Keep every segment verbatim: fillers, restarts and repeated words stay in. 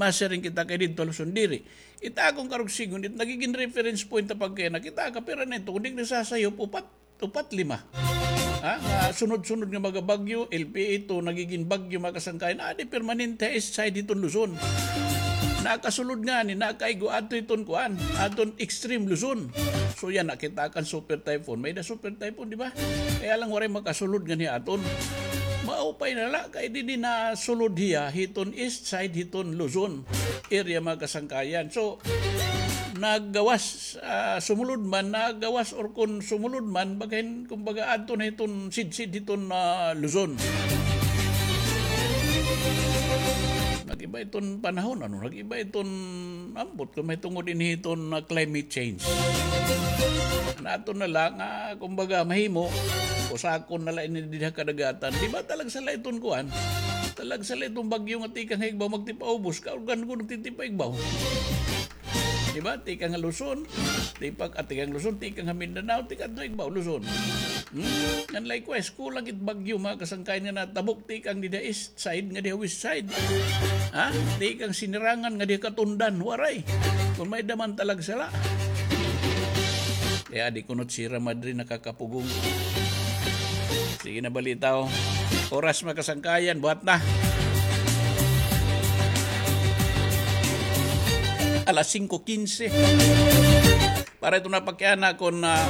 Masiring kita kay didto Luzon, diri. It akon karuyag sidngon, it nagigin reference point ta pagkayana, kita ka, pira na ito, kun di nasasayop, upat, upat, lima. Ha? Nga sunod-sunod nga mga bagyo, L P A ito, nagigin bagyo, mga kasangkayan, adi permanente ha east side hiton Luzon. Nakasulod ngani, nakaigo, adto hiton kuan, aton extreme Luzon. So yana, kita kan super typhoon. May-ada super typhoon, di ba? Kaya lang waray makasulod ngani aton. Maupay na la, kay didi nasulod hiya hiton east side hiton Luzon area, mga kasangkayan. So, nagawas, ah, sumulod man, nagawas or kun sumulod man, bagahin, kumbaga, adto na hiton sidsid hiton, ah, Luzon. Nag-iba iton panahon, ano, nag-iba iton ambot, kun mahitungod ini hiton, ah, climate change. An aton na la nga, kumbaga, mahimo, usakon na la ini dida ha kadagatan. Di ba, talagsa la iton kuan? Talagsa la iton bagyo nga tikang ha igbaw, magtipaubos, kaurgan ko nagtitipa igbaw. Di ba? Tikang ha Luzon, tipak, ah, tikang Luzon, tikang ha Mindanao, tikang ha igbaw, Luzon. Hmm? Ngan likewise, kulang it bagyo, mga kasangkayan, nga natabok, tikang dida east side, ngadi ha west side. Ha? Tikang Sinirangan, ngadi ha Katundan, waray. Kun may-ada man, talagsa la. Kaya di kunot Sierra Madre nakakapugong. Sige na, balita, oh. Oras, mga kasangkayan, buhat na. Alas singko kinse. Para ito na pagkayana kun, ah,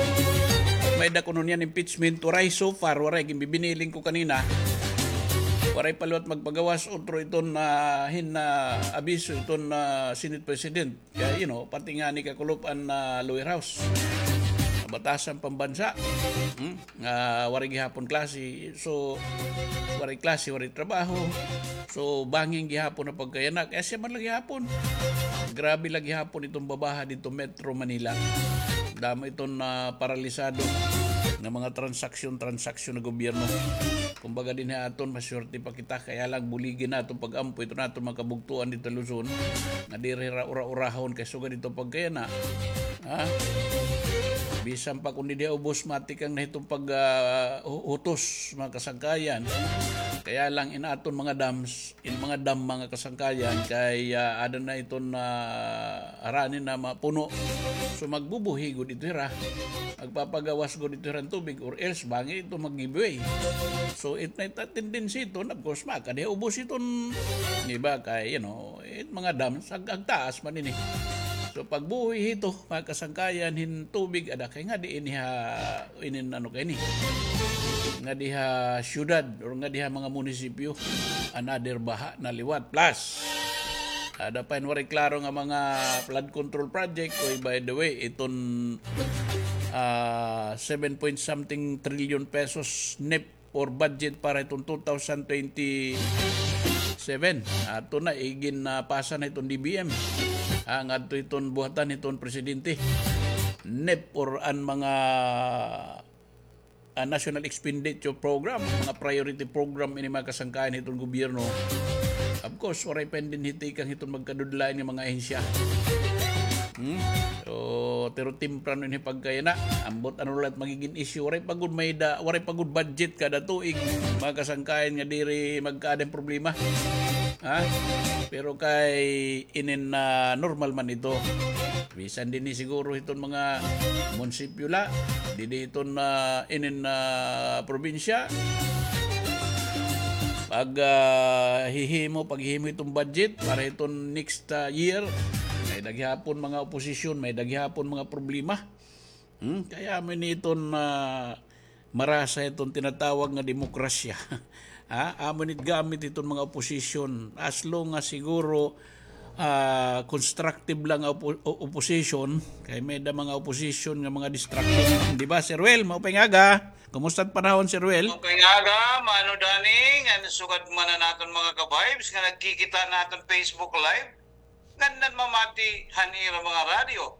may-ada kuno niyan impeachment, waray so far, waray, ginbibiniling ko kanina. Waray pa liwat magpagawas, otro iton, ah, hin, ah, abiso iton, ah, Senate President. Kaya, you know, pati ngani kakulop-an na lower house. Batasan pambansa. Hmm? Nga waray gihapon klase. So, waray klase, waray trabaho. So, bangin gihapon na pagkayana. Kaya siya man la gihapon. Grabe la gihapon iton babaha didto Metro Manila. Damo iton, ah, paralisado nga mga transaksyon-transaksyon na gobyerno. Kumbaga dinhi ha aton, maswerte pa kita, kaya lang buligi naton pag-ampo iton aton mga kabugtoan didto Luzon, nga diri hira ura-urahon kay sugad didto pagkayana. Ha? Bisan pa kun didi ha ubos, matikang na hiton pag, ah, hu-, hutos, mga kasangkayan. Kaya lang in aton mga dams, in mga dam, mga kasangkayan, kay, ah, ada na iton, ah, harani na mapuno. So, magbubuhi gud ito hira. Magpapagawas gud ito hira hin tubig, or else, bangin ito mag-give way. So, it na ita tendency iton, of course, makadi ha ubos iton, di ba, kay, you know, it mga dam, ag-, agtaas man ini. So, pagbuhi hito, mga kasangkayan, hin tubig, ada kay ngadi ini ha inin ano kay ni, ngadi ha syudad or ngadi ha mga munisipyo, another baha na liwat. Plus, ada pa hin waray klaro nga mga flood control project. Oy, by the way, iton, ah, seven point something trillion pesos NEP or budget para iton two thousand twenty-seven. Ato na, igin, ah, pasa na iton D B M. Ah, ngadto iton buhatan iton presidente. NEP or an mga, ah, national expenditure program, mga priority program ini mga kasangkayan hiton gobyerno. Of course, waray pa dinhi tikang hiton magkadudlain nga mga ahensya. Hmm? So, pero temprano ini pagkayana. Ambot ano la it magigin issue. Waray pa gud may da, waray pa gud budget kada tuig, mga kasangkayan, nga diri magkaada hin problema. Ha? Pero kay inin, ah, normal man ito. Bisan dinhi siguro hiton mga munisipyo la, didi hiton, ah, inin, ah, probinsya. Pag, ah, hihimo, paghihimo hiton budget para hiton next, ah, year, may-ada gihapon mga oposisyon, may-ada gihapon mga problema. Hmm? Kaya amo ini iton, ah, marasa iton tinatawag nga demokrasya. Ha? Amo ini it gamit iton mga oposisyon. As long as siguro, ah, constructive lang nga opo-, o-, oposisyon, kay may-ada mga oposisyon nga mga destructive. Di ba, Sir Ruel? Maupay nga aga. Kumusta it panahon, Sir Ruel? Maupay nga aga, Mano Danny, ngan sugad man an aton mga ka-vibes nga nagkikita ha aton Facebook Live, ngan nanmamati han ira mga radyo.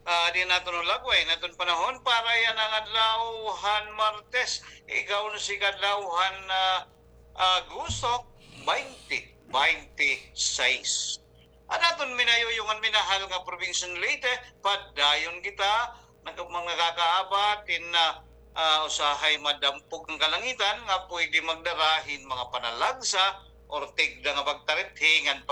Ah, di naton hulagway an aton panahon para yana nga adlaw han Martes, ika-onse ka adlaw han, ah, Agosto, twenty twenty-six. An aton minayuyong ngan minahal nga probinsyang Leyte, padayon kita nag-, mga nakakaabat hin, ah, ah, usahay madampog nga kalangitan nga pwede magdara hin mga panalagsa or tigda nga pagtarithi ngan